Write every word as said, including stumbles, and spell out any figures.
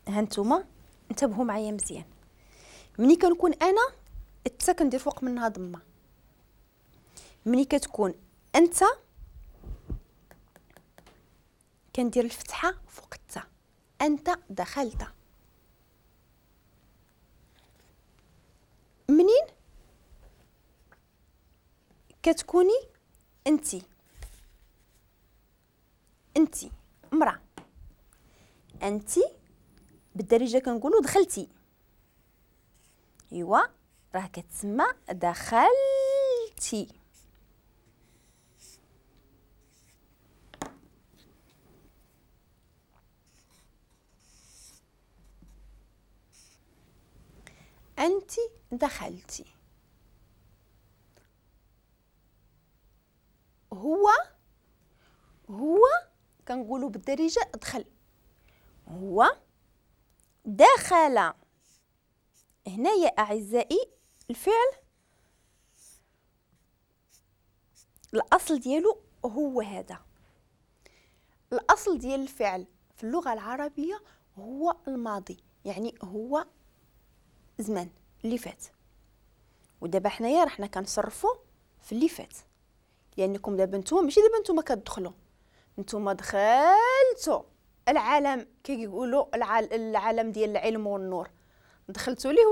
ها نتوما انتبهوا معايا مزيان. ملي كنكون انا التا كندير فوق منها ضمه، ملي كتكون انت كندير الفتحة فوق التا، انت دخلت. منين كتكوني انتي، انتي امراة، انتي بالدارجة كنقولوا دخلتي، ايوا راه كتسمى دخلتي. انت دخلتي. هو هو كنقولوا بالدارجة دخل، هو دخل. هنا يا اعزائي الفعل الاصل ديالو هو هذا. الاصل ديال الفعل في اللغة العربية هو الماضي، يعني هو زمان اللي فات. ودابا حنايا راه كنصرفوا في اللي فات، لانكم دابا نتوما ماشي دابا نتوما كتدخلوا، نتوما دخلتوا العالم، كيقولوا العالم ديال العلم والنور، دخلتوا ليه.